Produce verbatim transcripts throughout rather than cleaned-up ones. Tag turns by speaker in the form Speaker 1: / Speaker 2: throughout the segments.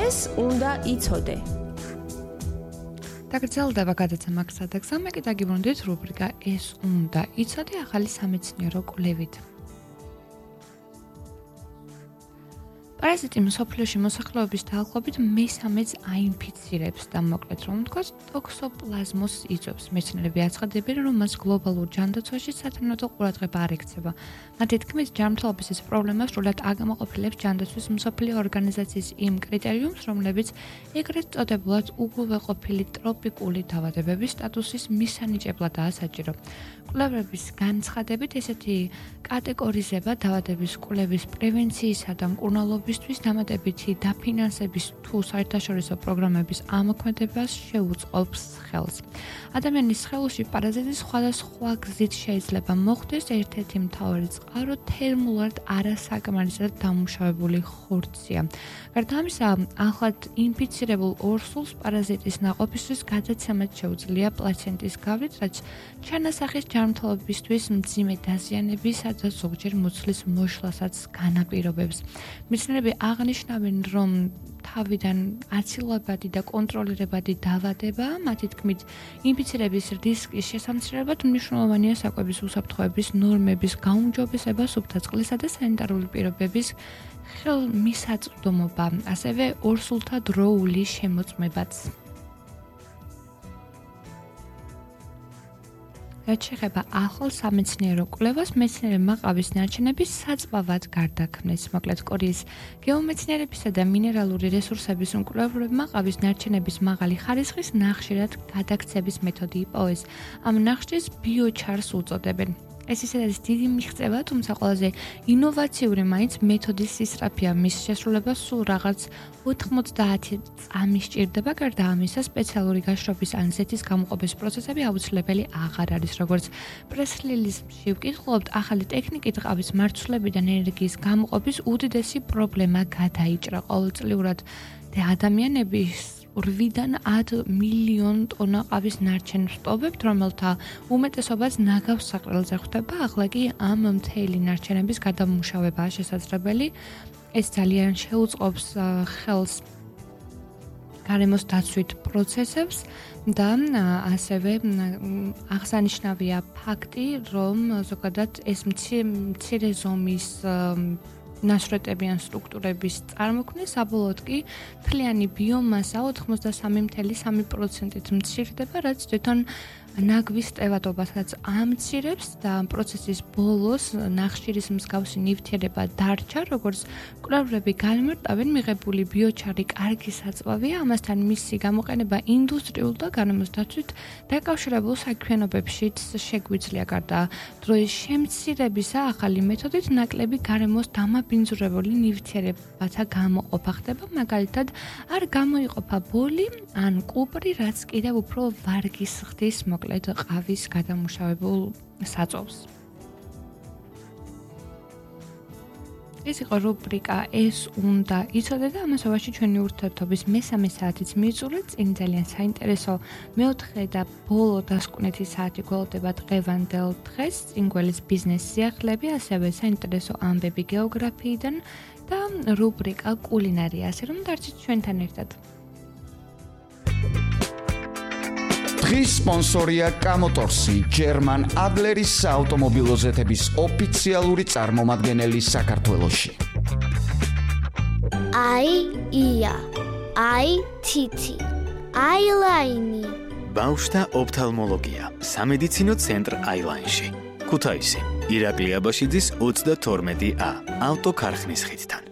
Speaker 1: ეს უნდა იცოდე.
Speaker 2: დაგრძელდება გადაცემა გზა და გზა, მე კიდე გიბრუნდით რუბრიკა ეს უნდა იცოდე ახალი სამეცნიერო კვლევით. პარაზიტი მსოფლიოში მოსახლეობის დაახლოებით მესამედს აინფიცირებს და მოკლედ რომ ვთქვათ, ტოქსოპლაზმოზს იწვევს. მეცნიერები აცხადებენ, რომ მას გლობალურ ჯანდაცვაში სათანადო ყურადღება არ ექცევა. მათი თქმით, ჯანმრთელობის ეს პრობლემა სრულად აგამოყოფილებს ჯანდაცვის მსოფლიო ორგანიზაციის იმ კრიტერიუმს, რომლებიც ეგრეთ წოდებულად უგულვეყოფილი ტროპიკული დაავადებების სტატუსის მისანიჭებლადაა საჭირო. კვლევების განცხადებით, ესეთი კატეგორიზება დაავადების კვლევის პრევენციისა და მკურნალობისთვის დამატებითი დაფინანსების თუ საერთაშორისო პროგრამების ამოქმედებას შეუწყობს ხელს. ადამიანის სხეულში პარაზიტი სხვადასხვა გზით შეიძლება მოხვდეს, ერთ-ერთი მთავარი წყარო თერმულად არასაკმარისად დამუშავებული ხორცია. გარდა ამისა, ახლად ინფიცირებულ ორსულს პარაზიტის ნაყოფისთვის გადაცემაც შეუძლია პლაცენტის გავლით, რაც ჩანასახის ჯანმრთელობისთვის მძიმე დაზიანებისა და ზოგჯერ მუცლის მოშლასაც განაპირობებს. მეცნიერები აღნიშნავენ, რომ თავიდან აცილებადი და კონტროლირებადი დაავადება, მათი თქმით, ინფიცირების რისკის შესამცირებლად მნიშვნელოვანია საკვების უსაფრთხოების ნორმების გაუმჯობესება, სუფთა წყლისა და სანიტარული პირობების ხელმისაწვდომობა, ასევე ორსულთა დროული შემოწმებაც. რაც შეეხება ახალ სამეცნიერო კვლევას, მეცნიერებმა ყავის ნარჩენების საწვავად გარდაქმნეს. მოკლედ, კორეის გეომეცნიერებისა და მინერალური რესურსების უმკვლელობებმა ყავის ნარჩენების მაღალი ხარისხის ნახშირად გადაქცების მეთოდი იპოვეს. ამ ნახშირს ბიოჩარს უწოდებენ. ეს ისედაც არის დიდი მიღწევა, თუმცა ყველაზე ინოვაციური მაინც მეთოდის ისწრაფია. მის შესრულებას სულ რაღაც ოთხმოცდაათი წამი სჭირდება. გარდა ამისა, სპეციალური გაშრობის ან ზეთის გამოყოფის პროცესები აუცილებელი აღარ არის. როგორც პრეს-რელიზში ვკითხულობთ, ახალი ტექნიკით ყავის მარცვლებიდან ენერგიის გამოყოფის უდიდესი პრობლემა გადაიჭრა. ყოველწლიურად ადამიანების ორიდან ათ მილიონ ტონა ყავის ნარჩენს ვტოვებთ, რომელთა უმეტესობაც ნაგავს საყრელზე ხვდება. ახლა კი ამ მთელი ნარჩენების გადამუშავებაა შესაძლებელი. ეს ძალიან შეუწყობს ხელს გარემოს დაცვით პროცესებს და ასევე აღსანიშნავია ფაქტი, რომ ზოგადად ეს მცირე ზომის ნაშრეტები ან სტრუქტურების წარმოქმნა საბოლოოდ კი მთლიანი ბიომასა ოთხმოცდასამი ფاصლე სამი პროცენტით მცირდება, რაც თვითონ ნაგვის ტევადობასაც ამცირებს და პროცესის ბოლოს ნახშირის მსგავსი ნივთიერება დარჩა, როგორც კვლევები განმარტავენ, მიღებული ბიოჩარი კარგი საწვავია, ამასთან მისი გამოყენება ინდუსტრიულ და გარემოს დაცვით დაკავშირებულ საქმიანობებშიც შეგვიძლია. გარდა დროის შემცირებისა, ახალი მეთოდით ნაკლები გარემოს დამაბინძურებული ნივთიერებათა გამოყოფა ხდება, მაგალითად, არ გამოიყოფა ბოლი ან კუპრი, რაც კიდევ უფრო ვარგის ხდის მოკლედ ყავის გადამუშავებულ საწვავს. ეს იყო რუბრიკა ეს უნდა იცოდე და ამასობაში ჩვენი ურთიერთობის მესამე საათიც მიწურეთ. წინ ძალიან საინტერესო მეოთხე და ბოლო დასკვნითი საათი გველოდება დღევანდელ დღეს. წინ გველის ბიზნეს სიახლეები, ასევე საინტერესო ამბები გეოგრაფიიდან და რუბრიკა კულინარია, ასე რომ დარჩით ჩვენთან ერთად.
Speaker 3: დღის სპონსორია კამოტორსი, ჯერმან ადლერის საავტომობილო ზეთების ოფიციალური წარმომადგენელი საქართველოში.
Speaker 4: აი ია, აი თითი, აილაინი.
Speaker 5: ბავშვთა ოფთალმოლოგია, სამედიცინო ცენტრ აილაინში. ქუთაისი, ირაკლი აბაშიძის ოცდათორმეტი ა, ავტოქარხნის ხიდთან.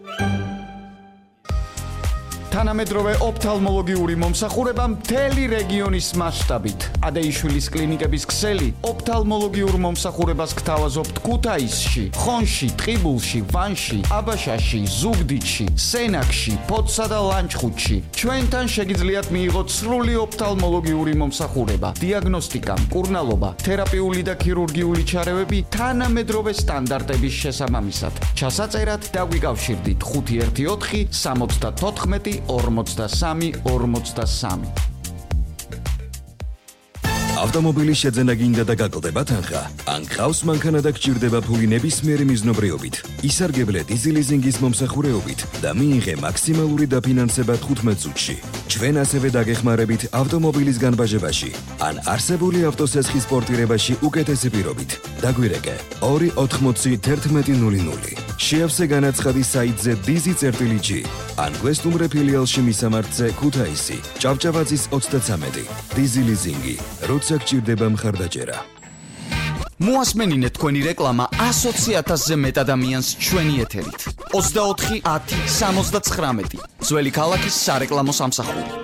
Speaker 3: თანამედროვე ოფთალმოლოგიური მომსახურება მთელი რეგიონის მასშტაბით. ადეიშვილის კლინიკების ქსელი ოფთალმოლოგიურ მომსახურებას გთავაზობთ ქუთაისში, ხონში, ტყიბულში, ვანში, აბაშაში, ზუგდიდში, სენაკში, ფოთსა და ლანჩხუთში. ჩვენთან შეგიძლიათ მიიღოთ სრული ოფთალმოლოგიური მომსახურება, დიაგნოსტიკა, მკურნალობა, თერაპიული და ქირურგიული ჩარევები თანამედროვე სტანდარტების შესაბამისად. ჩასაწერად დაგვიკავშირდით ხუთი ერთი ოთხი სამოცდათოთხმეტი ორმოცდასამი ორმოცდასამი.
Speaker 1: ავტომობილის შეძენა გინდა და გაკლდება თანხა, ან გყავს მანქანა და გჭირდება ფული ნებისმიერი მიზნობრიობით. ისარგებლე დიზი ლიზინგის მომსახურეობით და მიიღე მაქსიმალური დაფინანსება თხუთმეტ წუთში. ჩვენ ასევე დაგეხმარებით ავტომობილის განბაჟებაში, ან არსებული ავტოსესხის პორტირებაში უკეთესი პირობით. დაგვირეკე ორი ოთხმოცი თერთმეტი ნული ნული. შეავსე განაცხადი საიტზე dizi.gi ან გვესტუმრე ფილიალში მისამართზე ქუთაისი, ჭავჭავაძის ოცდაცამეტი. დიზი ლიზინგი, როცა გჭირდება მხარდაჭერა.
Speaker 3: მოასმენინეთ თქვენი რეკლამა ასოცი ათასზე მეტ ადამიანს ჩვენი ეთერით. ოცდაოთხი ათი სამოცდაცხრამეტი. ძველი ქალაქის სარეკლამო სამსახური.